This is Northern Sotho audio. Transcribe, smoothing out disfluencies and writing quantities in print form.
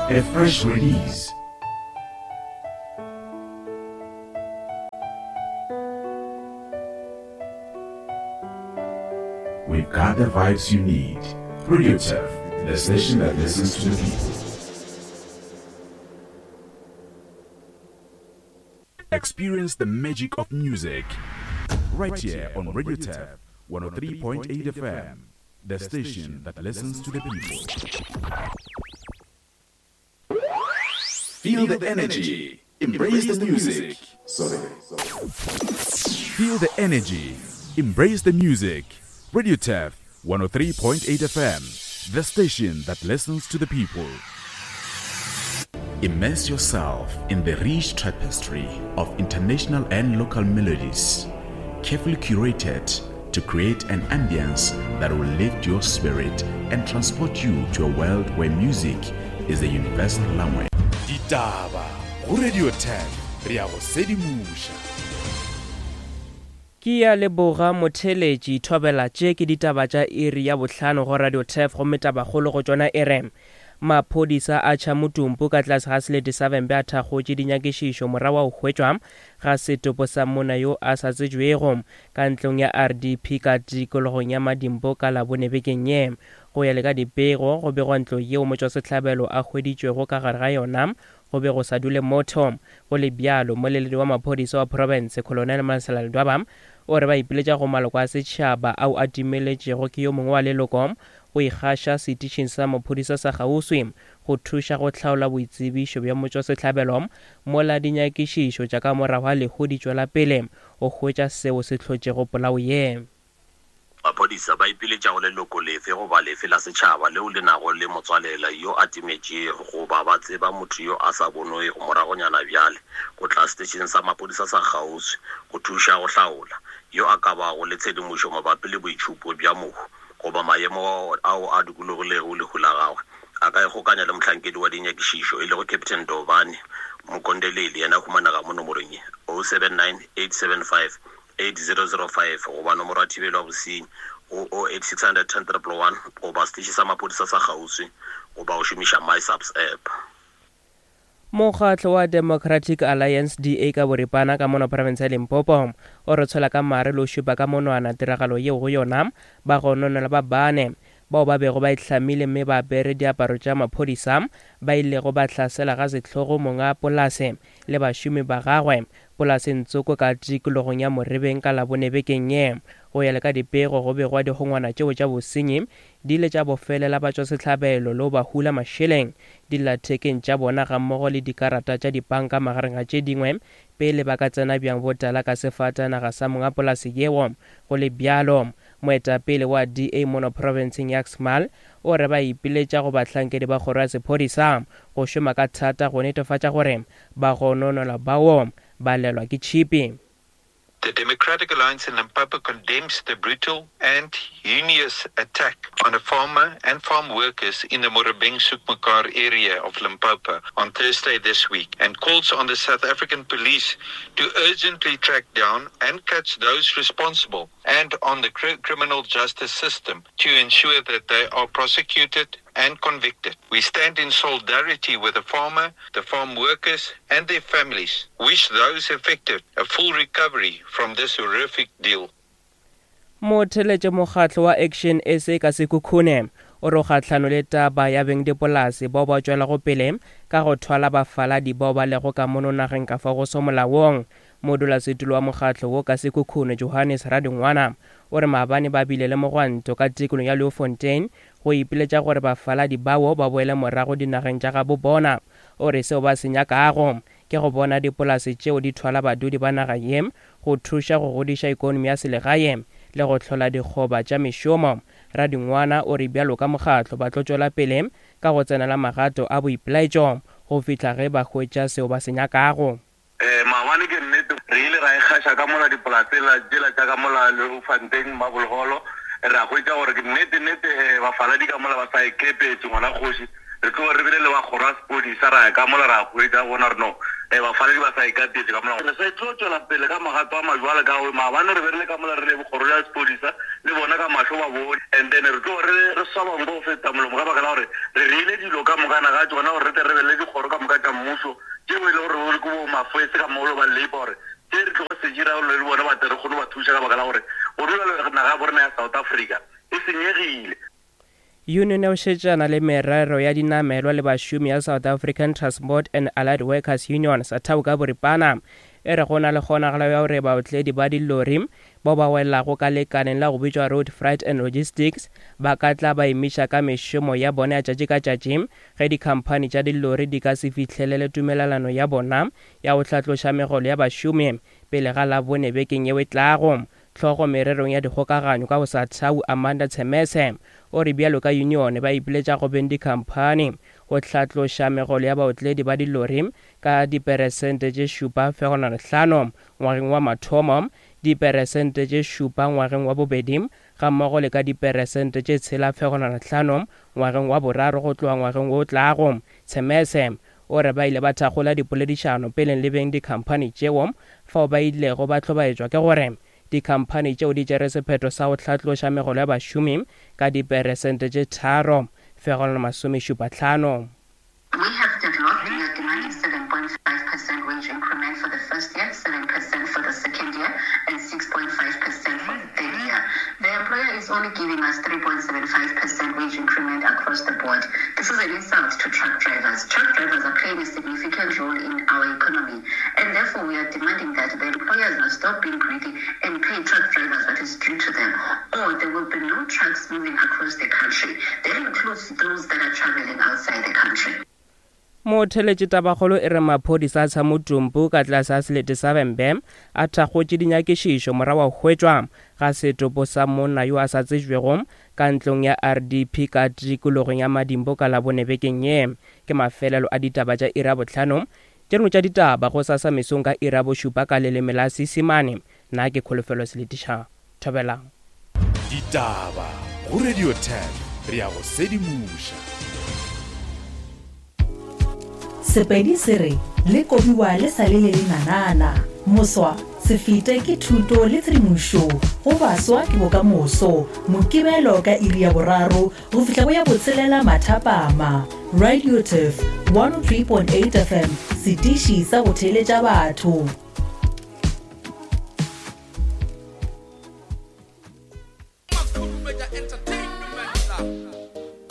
A fresh release. We've got the vibes you need. Radio Turf, the station that listens to the people. Experience the magic of music right here on Radio Turf 103.8 FM, the station that listens to the people. Feel the energy. Embrace the music. Sorry. Feel the energy. Embrace the music. Radio Turf 103.8 FM, the station that listens to the people. Immerse yourself in the rich tapestry of international and local melodies, carefully curated to create an ambience that will lift your spirit and transport you to a world where music is the universal language. Ditaba go Radio 10 re a go sedimoša. Ke a leboga motheeletši Thobela tše ke ditaba tša iri ya bohlano go Radio Turf gomme tabakgolo go tšona e re Maphodisa a tšha motumpu ka tlase ga selete sa Vhembe a thakgotše dinyakišišo morago ga go hwetšwa ga setopo sa monna yo a sa tsebjwego ka ntlong ya RDP ka tikologong ya Madimpo ka Labone bekeng ye. Go ya le ka dipego, go begwa ntlo yeo motšwasehlabelo a hweditšwego ka gare ga yona go be go sa dule motho. Go le bjalo, moleledi wa maphodisa wa profense, Colonel Malesela Ledwaba, o re ba ipiletša go maloko a setšhaba ao a timeletšego ke yo mongwe wa leloko go ikgaša setišing sa maphodisa sa kgauswi go thuša go hlaola boitsebišo bja motšwasehlabelo mola dinyakišišo tša ka morago ga lehu di tšwela pele go hwetša seo se hlotšego polao ye. Maphodisa ba ipiletša go leloko lefe goba lefe la setšhaba leo le nago le motswalela yo a timetšego goba ba tseba motho yo a sa bonwego moragonyana bjale go tla setešeng sa maphodisa sa kgauswi go thuša go hlaola yo a ka bago le tshedimošo mabapi le boitšhupo bja mohu goba maemo ao a dikologilego lehu la gagwe. A ka ikgokanya le mohlankedi wa dinyakišišo e lego Captain Dovhani Mukondeleli yena a humanega mo nomorong ye, 079 875 8005 goba nomoro ya thibelo ya bosenyi go 08600 10 111 goba seteše sa maphodisa sa kgauswi goba go šomiša MySAPS app. Mokgatlo wa Democratic Alliance, DA, ka boripana ka mono profense ya Limpopo o re tshwela ka mare le go šupa ka monwana tiragalo yeo go yona bagononelwa ba bane bao ba bego ba itlhamile mme ba apere diaparo tša maphodisa ba ilego ba hlasela ga sehlogo monga polase le bašomi ba gagwe polaseng tsoko ka tikologong ya Morebeng ka Labone bekeng ye. Go ya le ka dipego, go begwa dikgongwana tšeo tša bosenyi di ile tša bofelela batšwasehlabelo le go ba hula mašeleng dillathekeng tša bona gammogo le dikarata tša dipanka magareng ga tše dingwe pele ba ka tsena bjang botala ka sefatanaga sa monga polase yeo. Go le bjalo, moetapele wa DA mono profenseng ya Xmal o re ba ipiletša go bahlankedi ba kgoro ya sephodisa go šoma ka thata go netefatša gore Bagononelwa bao ba lelwa ke tšhipi. The Democratic Alliance in Limpopo condemns the brutal and heinous attack on a farmer and farm workers in the Morebeng Soekmekaar area of Limpopo on Thursday this week and calls on the South African police to urgently track down and catch those responsible and on the criminal justice system to ensure that they are prosecuted and convicted. We stand in solidarity with the farmer, the farm workers and their families. Wish those affected a full recovery from this horrific deal. Motheletše mokgatlo wa Action SA ka Sekhukhune o re o kgahlano le taba ya bengdipolase bao ba tšwelago pele ka go thwala bafaladi bao ba lego ka mono nageng ka fao go se molaong. Modulasetulo wa mokgatlo wo ka Sekhukhune Johannes Radingwana o re maabane ba bile le mogwanto ka tikolong ya Leeuwfontein go ipiletša gore bafaladi bao ba boele morago dinageng tša gabo bona. O re seo ba se nyakago ke go bona dipolase tšeo di thwala badudi ba naga ye go thuša go godiša ikonomi ya selegae le go hlola dikgoba tša mešomo. Radingwana o re bjalo ka mokgatlo ba tlo tšwela pele ka go tsenela magato a boipelaetšo go fihla ge ba hwetša seo ba se nyakago. Ee, maabane ke nnete re ile ra ikgaša ka mola dipolaseng tšela tša ka mola Leeufontein, Marble Hall, ra hwetša gore ke nnete nnete bafaladi ka mola ba sa ikepetše ngwana kgoši. Re tloge re bile le ba kgoro ya sepodisa ra ya ka mola ra hwetša bona gore no Bafaladi ba sa ikapetše ka mola. Re sa tlo tšwela pele ka magato a majwale ka gore maabane re be re le ka mola re le kgoro ya sepodisa le bona ka mahlo ba bone and then re tlo re re swaba nko go feta molomo ka baka la gore re reile dilo ka mokana ga tšona gore re tle re be le dikgoro ka moka tša mmušo tšeo e le gore ke bo mafwese ka molo ba labour gore tše re tlogo se dira le bona ba tle re kgone ba thuša ka baka la gore go dula le naga ya borena ya South Africa e senyegile. Yunione ya go šetšana le merero ya dinamelwa le bašomi ya South African Transport and Allied Workers Union, SATAWU ka boripana, e re go na le kgonagalo ya gore baotledi ba dilori bao ba welago ka lekaleng la go bitšwa Road Freight and Logistics ba ka tla ba emiša ka mešomo ya bona ya tšatši ka tšatši ge dikhamphani tša dilori di ka se fihlelele tumelelano ya bona ya go hlatloša megolo ya bašomi pele ga Labone bekeng yeo e tlago. Hlogo mererong ya dikgokaganyo ka go SATAWU Amanda Tshemese o re bjalo ka yunione ba ipiletša go beng dikhamphani go hlatloša megolo ya baotledi ba dilori ka diperesente tše 7.5 ngwageng wa mathomo, diperesente tše 7 ngwageng wa bobedi gammogo le ka diperesente tše 6.5 ngwageng wa boraro go tloga ngwageng wo o tlago. Tshemese o re ba ile ba thakgola dipoledišano peleng le beng dikhamphani tšeo fao ba ilego ba hlobaetšwa ke gore dikhamphani tšeo di tšere sephetho sa go hlatloša megolo ya bašomi ka diperesente tše 3.75. We have deadlocked, we are demanding 7.5 percent wage increment for the first year, 7 percent for the second year and 6.5 percent for the third year. The employer is only giving us 3.75 percent wage increment across the board. This is an insult to truck drivers. Truck drivers are playing a significant role in our economy and therefore we are demanding that the employers must stop being greedy and pay truck drivers what is due to them or there will be no trucks moving across the country. That includes those that are traveling outside the country. Motheletši tabakgolo e re maphodisa a Tshamutumpu ka tlase ga selete sa Vhembe a thakgotše dinyakišišo morago ga go hwetšwa ga setopo sa monna yo a sa tsejwego ka ntlong ya RDP ka tikologong ya Madimbo ka Labone bekeng ye. Ke mafelelo a ditaba tša iri ya bohlano. Tše dingwe tša ditaba gosasa mesong ka iri ya bošupa ka leleme la Seisemane. Nna ke Kholofelo Seletiša. Thobelang. Ditaba go Radio 10 re a go sedimoša. Sepedi se re le kobiwa le sa le le lenanana. Moswa, se fete ke thuto le tshedimošo go baswa ke bokamoso. Mokibelo ka iri ya boraro go fihla go ya botshelela mathapama. Radio Turf 103.8 FM, setiši sa go theeletša batho.